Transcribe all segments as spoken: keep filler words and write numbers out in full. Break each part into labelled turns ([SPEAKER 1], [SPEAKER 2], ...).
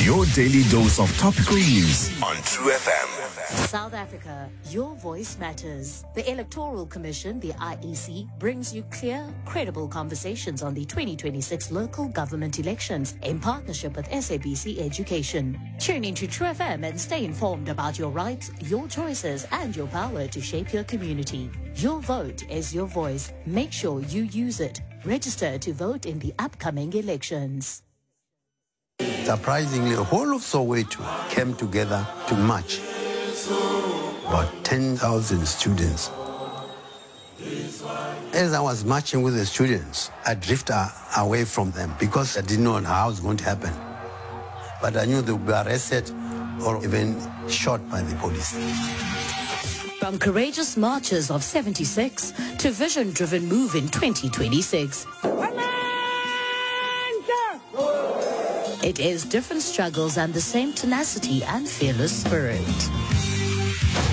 [SPEAKER 1] Your daily dose of topical news on True F M.
[SPEAKER 2] South Africa, your voice matters. The Electoral Commission, the I E C, brings you clear, credible conversations on the twenty twenty-six local government elections in partnership with S A B C Education. Tune into True F M and stay informed about your rights, your choices, and your power to shape your community. Your vote is your voice. Make sure you use it. Register to vote in the upcoming elections.
[SPEAKER 3] Surprisingly, the whole of Soweto came together to march. About ten thousand students. As I was marching with the students, I drifted away from them because I didn't know how it was going to happen. But I knew they would be arrested or even shot by the police.
[SPEAKER 2] From courageous marches of seventy-six to vision-driven move in twenty twenty-six. It is different struggles and the same tenacity and fearless spirit.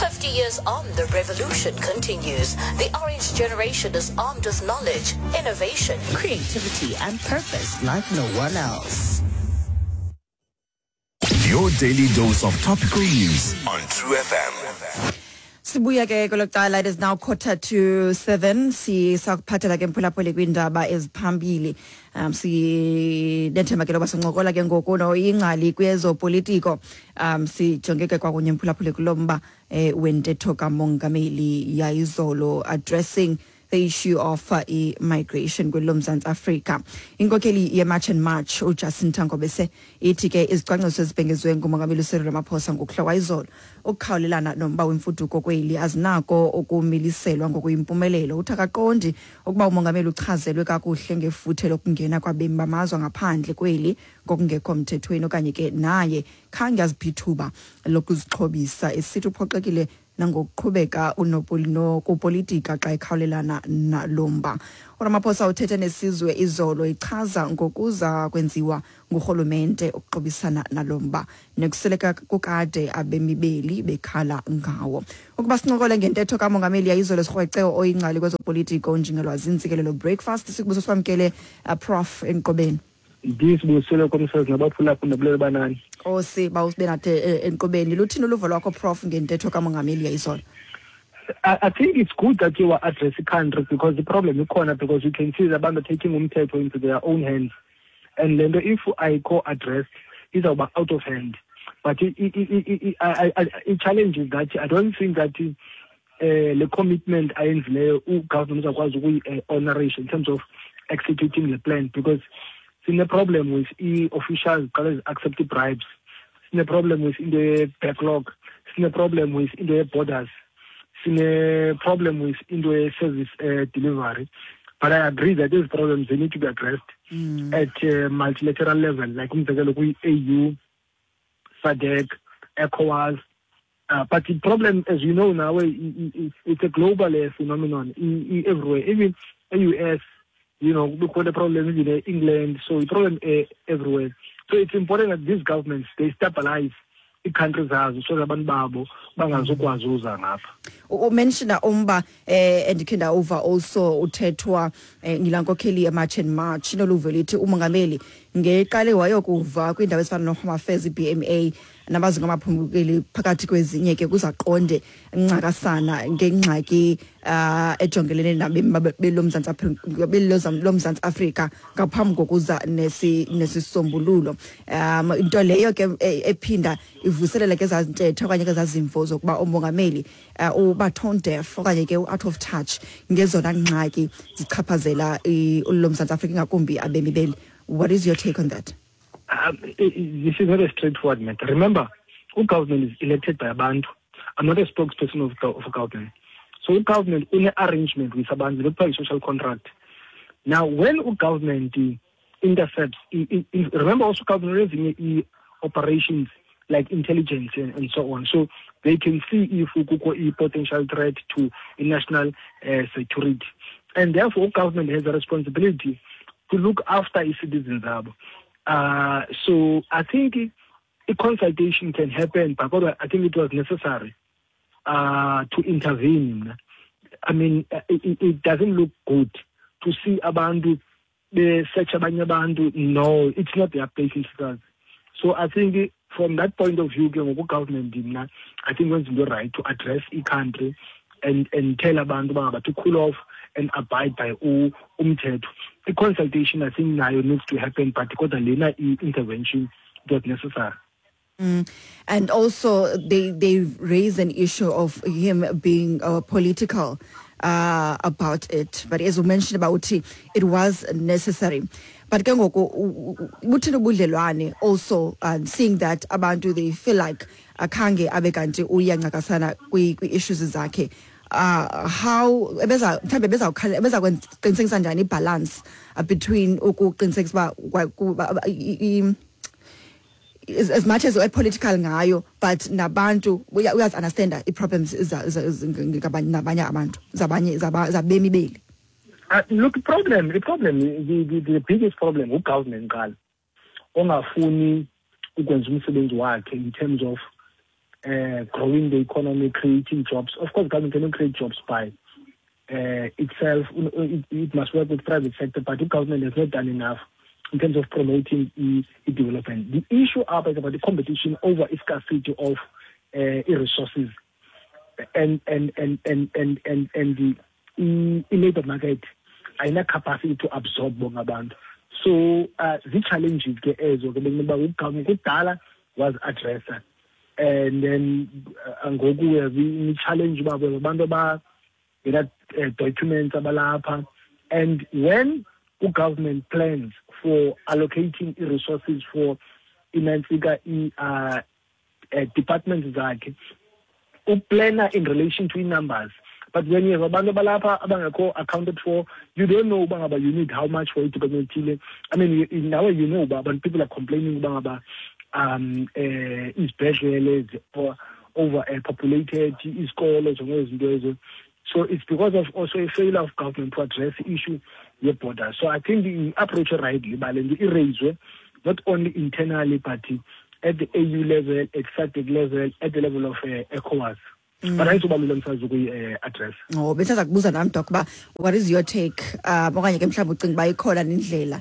[SPEAKER 2] fifty years on, the revolution continues. The Orange Generation is armed with knowledge, innovation, creativity, and purpose like no one else.
[SPEAKER 1] Your daily dose of topical news on True F M.
[SPEAKER 4] Sibuya ke kwelo it is now quarter to seven. Sisakuphathela ke mphulaphuli kwiindaba eziphambili. Um sinethemba ke loba sincokola ke ngoku noyingcali kwezopolitiko. Um sijonge ke kwakunye mphulaphuli kulo mba eh, wentetho kamongameli yayizolo addressing the issue of uh, migration kwelo Mzantsi Afrika. Inkokheli ye-March and March uJacinta Ngobese ithi ke izicwangciso ezibhengezwe ngumongameli uCyril Ramaphosa ngokuhla izolo ukukhawulelana nomba wemfuduko kweli azinako ukumiliselwa ngokuyimpumelelo. Uthi akaqondi ukuba umongameli uchazelwe kakuhle ngefuthe lokungena kwabemi bamazwe ngaphandle kweli ngokungekho mthethweni okanye ke naye khange aziphithuba lokuzixhobisa, esithi uphoxekile nangokuqhubeka unopolitika xa ekhawulelana nalomba. uRamaphosa uthethe nesizwe izolo ichaza ngokuza kwenziwa ngurhulumente ukuxhobisana nalomba nekuseleka kukade abemibeli bekhala ngawo. Ukuba sincokole ngentetho kamongameli yayizolo sirhwece oyingcali kwezopolitiko unjingelwazi Ntsikelelo Breakfast. Sikubuso sikwamkele uh, Prof enkqubeni.
[SPEAKER 5] Ndisibusele komsazi nabaphulaphula nabulele banani.
[SPEAKER 4] Nkosi bawusibe nathi enkqubeni. Luthini uluvo lwakho Prof ngentetho kamongameli yayizolo?
[SPEAKER 5] I, I think it's good that you are addressing the country because the problem is corner because you can see the abantu taking umthetho into their own hands. And then if I co-address, it's about out of hand. But it, it, it, it, I, I, it challenge is that I don't think that uh, the commitment ayenzileyo government uzakwazi ukuyi-honorisha in terms of executing the plan, because it's a problem with e-officials accept bribes. It's a problem with in the backlog. It's a problem with in the borders. It's a problem with in the service uh, delivery. But I agree that these problems, they need to be addressed mm. at a multilateral level, like A U, SADC, ECOWAS. Uh, but the problem, as you know now, it, it, it's a global uh, phenomenon everywhere. Even the U S, you know, look what the problem is in England. So the problem uh, everywhere. So it's important that these governments, they stabilize the countries so that abantu babo bangazokwazi uza ngapha.
[SPEAKER 4] Umensiona umba eh endikhe ndawuva also uthethwa ngilankokheli yeMarch and March inoluvo lithi umongameli ngeqale wayokuva kwiindawo ezifana noHome Affairs, I B M A nabazinga amaphumukeli phakathi kwezinye ke kuzaqonde ncakasana ngengxaki uh, ejongelene nabemi belomzantsi Afrika belomzantsi Afrika ngaphambi kokuza nesi nesisombululo. Um into leyo ke ephinda ivuselele ke zazintetho okanye ke zazimvo zokuba umongameli uba tone deaf okanye ke out of touch ngezona ngxaki zichaphazela ulomzantsi Afrika ngakumbi abemi beli. What is your take on that?
[SPEAKER 5] Um, this is not a straightforward matter. Remember, government is elected by abantu. I'm not a spokesperson of, of government. So government in arrangement with abantu, look for a social contract. Now, when government intercepts, remember also government is operations like intelligence and, and so on. So they can see if a potential threat to national uh, security. And therefore, government has a responsibility to look after its citizens. Uh, so I think a consultation can happen, but I think it was necessary uh, to intervene. I mean, it, it doesn't look good to see abantu, they search abanye abantu. No, it's not their place in. So I think from that point of view ke ngoku government mna I think wenza into right to address i-country and and tell abantu uba ngaba to cool off and abide by umthetho. I-consultation I think nayo needs to happen, but kodwa lena i-intervention it was necessary.
[SPEAKER 4] Mm. And also they, they raise an issue of him being uh, political uh, about it. But as you mentioned about it, it was necessary. But ke ngoku buthini ubudlelwane also uh, seeing that abantu they feel like akhange abe kanti uyancakasana kwi-issues zakhe. Uh, how ebeza mhlambe beza beza kwenza njani balance uh, between ukuqinisekisa uba as, as much as political ngayo, but nabantu uyazi understand i-problems nabanye abantu zabanye zabemi beli.
[SPEAKER 5] Uh, look, the problem, the problem, the, the, the biggest problem, ugovernment qala ongafuni ukwenza umsebenzi wakhe in terms of uh, growing the economy, creating jobs. Of course, government cannot create jobs by uh, itself. It, it must work with private sector, but the government has not done enough in terms of promoting e, e development. The issue up is about the competition over scarcity of uh, resources and and and and and and, and the e, e labor market ayina capacity to absorb bonke abantu. So uh, the challenges ke ezo ke bekuba ugovernment kudala was addressed, and then ngoku we have i challenge uba abantu aba ngena documents abalapha, and when government plans for allocating resources for inantsika i uh, uh, departments zakhe uplana in relation to numbers. But when you have abantu abalapha abangekho accounted for, you don't know uba ngaba you need how much for i-department ethile. I mean, now you know, but people are complaining uba ngaba um uh, izibhedlele overpopulated, izikolo zonke izinto ezo. So it's because of also a failure of government to address the issue your border. So I think the approach rightly, but the not only internally, but at the A U level, at S A D C level, at the level of uh, ECOWAS. Mm. But ayizobalula msazi ukuyi address.
[SPEAKER 4] Oh, bese kubuza nami Doc ba what is your take? Uh okanye ke mhlawumbe ucinga ba ikhona indlela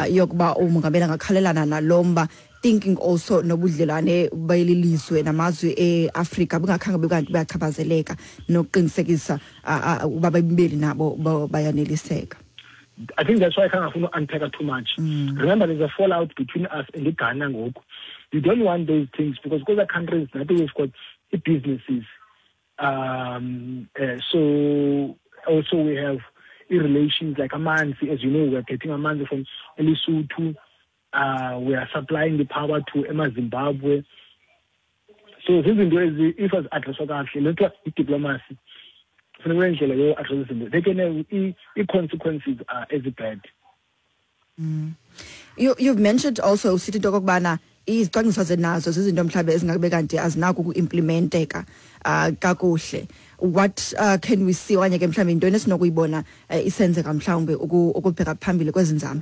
[SPEAKER 4] yokuba umongameli angakhalelana nalomba, thinking also nobudlelwane bayilizwe namazwe eAfrika bungakhange bekanti bayachaphazeleka nokuqinisekisa uba bebeli nabo bayaneliseka.
[SPEAKER 5] I think that's why I can't unpack too much. Mm. Remember, there's a fallout between us and the Ghana ngoku. You don't want those things because other countries, now we've got businesses. Um, uh, so also we have relations like Amanzi, as you know, we're getting Amanzi from Lesotho. Uh, we are supplying the power to Ema Zimbabwe. So this is if as address diplomacy. They can the consequences are as bad.
[SPEAKER 4] Mm. You you've mentioned also sithi okokubana izicwangciso zenazo zizinto mhlawumbe ezingabe kanti azinako ukuimplementeka uh, kakuhle. What uh, can we see okanye ke mhlawumbe intoni esinokuyibona uh, isenzeka mhlawumbe ukubheka phambili kwezinzame?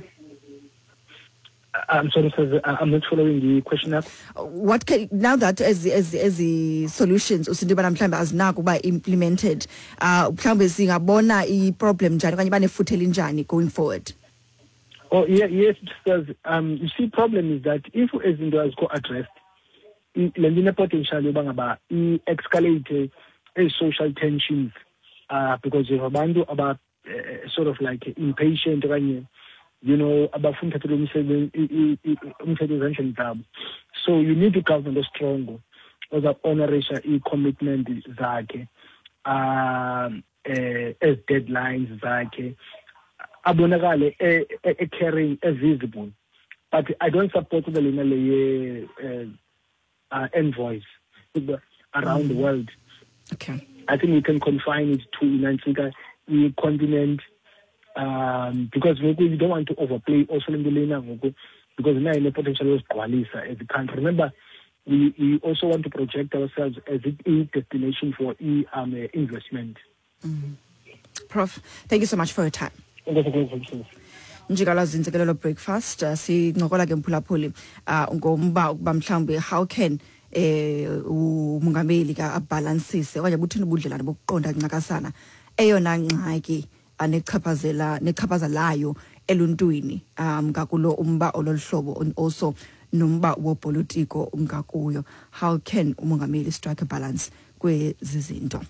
[SPEAKER 5] I'm sorry, sir, I'm not following the question up.
[SPEAKER 4] What can, now that as as as the solutions usinto bana mhlawumbe azinako uba implemented, uh mhlawumbe singabona i-problem njani okanye banefuthe elinjani going forward?
[SPEAKER 5] Oh yeah, yes, because um you see, problem is that if izinto azikho addressed, le nto ine-potential yoba ngaba i-escalate social tensions, uh because you have abantu aba uh, sort of like impatient okanye you know, abafuna uthathelwa umsebenzi umthetho ezandleni zabo. So you need a government strong oza-honorisha i-commitment zakhe, um eh, as deadlines zakhe, abonakale e-caring, e-visible. But I don't support the lena le uh, envoys around mm. the world.
[SPEAKER 4] Okay.
[SPEAKER 5] I think we can confine it to inantsika i-continent, um because we don't want to overplay also in the lena because now in the potential yosigqwalisa as a country. Remember, we, we also want to project ourselves as a destination for e um, investment.
[SPEAKER 4] Mm. Prof, thank you so much for your time. Njikalazi Ntsikelelo Breakfast, uh, sincokola ke mphulaphuli uh, ngomba ukuba mhlawumbe how can eh umongameli ka abalansise okanye buthini ubudlelwane bokuqonda ncakasana eyona ngxaki anechaphazela nechaphazelayo eluntwini um ngakulo umba ololuhlobo, and also nomba wopolitiko ngakuyo. How can umongameli strike a balance kwezi zinto?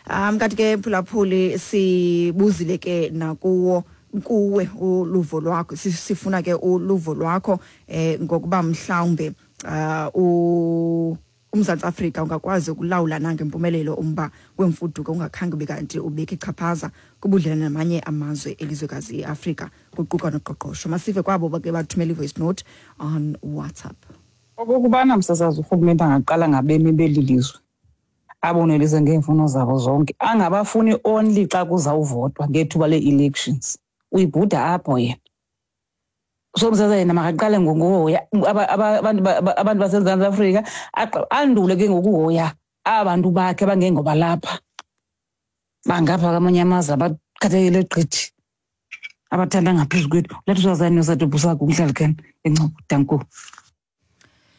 [SPEAKER 4] Um kanti ke mphulaphuli, sibuzile ke nakuwo kuwe uluvo lwakho, sifuna ke uluvo lwakho eh ngokuba mhlawumbe uh uMzantsi Afrika ungakwazi ukulawula nangempumelelo umba wemfuduko ungakhange ube kanti ubeke ichaphaza kubudlelwane namanye amazwe elizwekazi iAfrika, kuquka noqoqosho. Masive kwabo bake bathumela i-voice note on WhatsApp.
[SPEAKER 6] Okokubana msasazi, urhulumente angaqala ngabemi beli lizwe, abonelise ngeemfuno zabo zonke, angabafuni only xa kuzawuvotwa ngethuba lee-elections. Uyibhuda apho yena. So msasazi, yena makaqale ngokuhoya abantu abantu baseMzantsi Afrika, andule ke ngokuhoya abantu bakhe abangengoba lapha bangapha kwamanye amazwe, abakhathalele gqithi, abathanda ngaphezu kwethu. Lethu sazani nosadobhusakho umhlalikani eNcopho. Danko.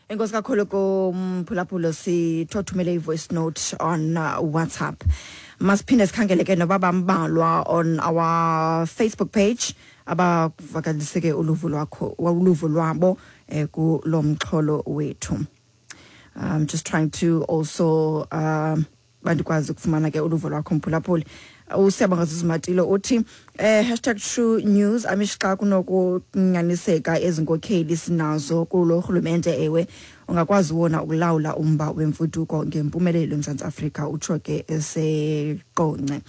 [SPEAKER 4] Enkosi kakhulu kumphulaphula, sithothumele i-voice note on uh, WhatsApp. Masiphinde sikhangele ke noba bambalwa on our Facebook page abavakalise ke uluvo lwakho uluvo lwabo eh, kulo mxholo wethu. I'm just trying to also um bandikwazi ukufumana ke uluvo lwakho mphulaphuli. USiyabonga Zizimatilo uthi eh hashtag true news, amish xa kunokunyaniseka ezinkokheli sinazo kulo rhulumente, ewe, ungakwazi wona ukulawula umba wemfuduko ngempumelelo eMzantsi Afrika, utsho ke eseQonce.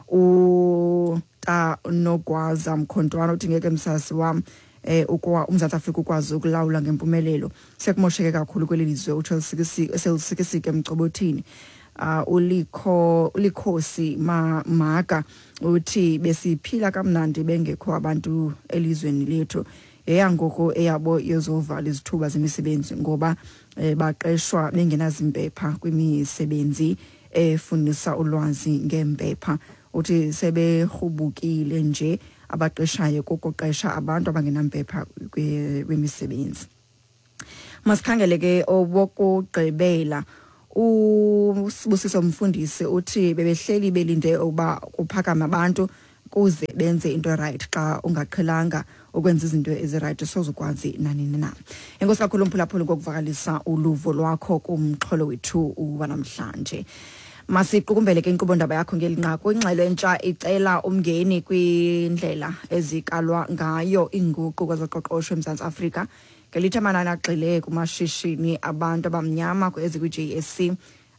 [SPEAKER 4] Uta Nogwaza Mkhontwana uthi ngeke msasi wam eh ukwa uMzantsi Afrika ukwazi ukulawula ngempumelelo, sekumosheke kakhulu kweli lizwe, utsho selisikisike emcobothini. uh, ulikho ulikhosi ma, maka uthi besiphila kamnandi bengekho abantu elizweni lethu, eyangoku eyabo yezovala izithuba zemisebenzi ngoba eh, baqeshwa bengenazimpepha kwimisebenzi efundisa ulwazi ngempepha. Uthi seberhubukile nje abaqeshayo kokuqesha abantu abangenampepha kwimisebenzi. Masikhangele ke obokugqibela. USibusiso Mfundisi uthi bebehleli belinde ukuba kuphakame abantu kuze benze into right. Xa ungaqhelanga ukwenza izinto ezi-right, sozukwazi nanini na. Enkosi kakhulu mphulaphuli ngokuvakalisa uluvo lwakho kumxholo wethu wanamhlanje. Masiqukumbele ke inkqubo ndaba yakho ngeli nqaku. Ingxelo entsha icela umngeni kwindlela ezikalwa ngayo iinguqu kwezoqoqosho eMzantsi Afrika, ngelithi amanani agxile kumashishini abantu abamnyama ezikwi-J S E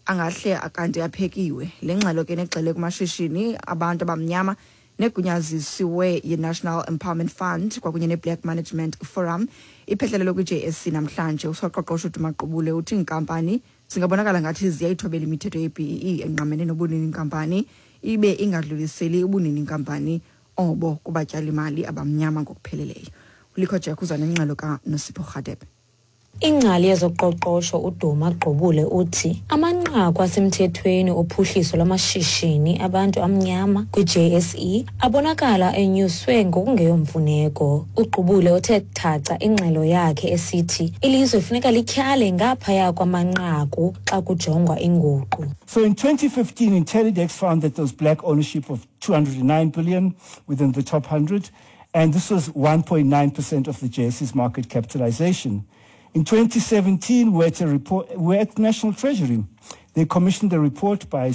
[SPEAKER 4] angahle akanti aphekiwe. Le ngxelo ke negxile kumashishini abantu abamnyama negunyazisiwe yi-National Empowerment Fund kwakunye ne-Black Management Forum iphehlelelo kwi-J S E namhlanje. Usoqoqosho uDuma Gqubule uthi iinkampani zingabonakala ngathi ziyayithobela imithetho ye-B E E engqamene nobunini inkampani, ibe ingadluliseli ubunini inkampani obo kubatyalimali abamnyama ngokupheleleyo. Ulikho Jack uza nengxelo kaNosipho Rhadebe.
[SPEAKER 7] Ingcali yezoqoqosho uDuma Gqubule uthi amanqaku asemthethweni ophuhliso lwamashishini abantu amnyama kwi-J S E abonakala enyuswe ngokungeyomfuneko. UGqubule uthe thaca ingxelo yakhe esithi ilizwe funeka lityhale ngaphaya kwamanqaku xa kujongwa inguqu.
[SPEAKER 8] So in twenty fifteen, Intellidex found that there was black ownership of two hundred nine billion within the top one hundred, and this was one point nine percent of the J S E's market capitalization. In twenty seventeen, we're at, a report, we're at National Treasury. They commissioned a report by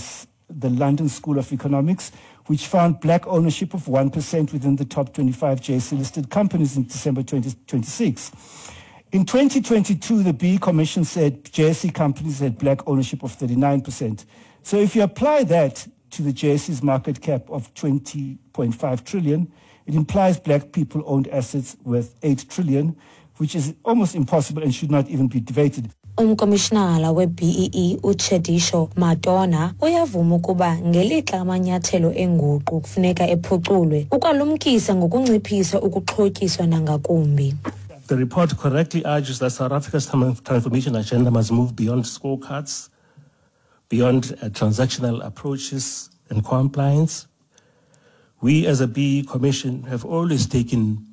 [SPEAKER 8] the London School of Economics, which found black ownership of one percent within the top twenty-five J S E listed companies in December twenty twenty-six. In twenty twenty-two, the B E E Commission said J S E companies had black ownership of thirty-nine percent. So if you apply that to the J S E's market cap of twenty point five trillion, it implies black people owned assets worth eight trillion, which is almost impossible and should not even be debated.
[SPEAKER 7] Umkomishinala we-B E E uTshediso Matona uyavuma ukuba ngelixa amanyathelo enguqu kufuneka ephuculwe, ukwalumkisa ngokunciphisa ukuxhotyiswa nangakumbi.
[SPEAKER 9] The report correctly argues that South Africa's transformation agenda must move beyond scorecards, beyond uh, transactional approaches and compliance. We as a B E E Commission have always taken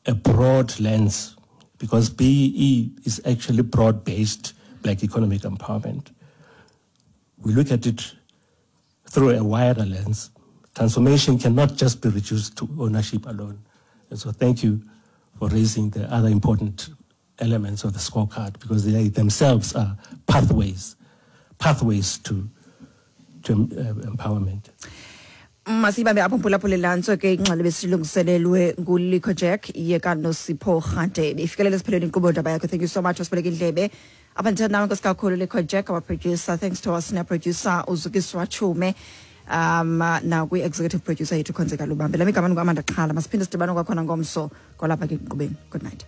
[SPEAKER 9] a broad lens because B E E is actually broad-based black economic empowerment. We look at it through a wider lens. Transformation cannot just be reduced to ownership alone. And so thank you for raising the other important elements of the scorecard, because they themselves are pathways, pathways to, to uh, empowerment.
[SPEAKER 4] Masibambe apho, mphulaphuli. Lantso ke ingxelo besilungiselelwe nguLico Jack yekaNosipho Rhadebe. Ifikelele esiphelweni inkqubo Ndaba Yakho. Thank you so much wasibeleka indlebe apha. Ndithetha nawe, nkosi kakhulu, Lico Jack, our producer. Thanks to our senior producer, uZukiswa Chume, um nakwi-executive producer yethu, Khonzeka Lubambe. Lam igama nguAmanda Xhala. Masiphinde sidibane kwakhona ngomso kwalapha ke enkqubeni. Good night.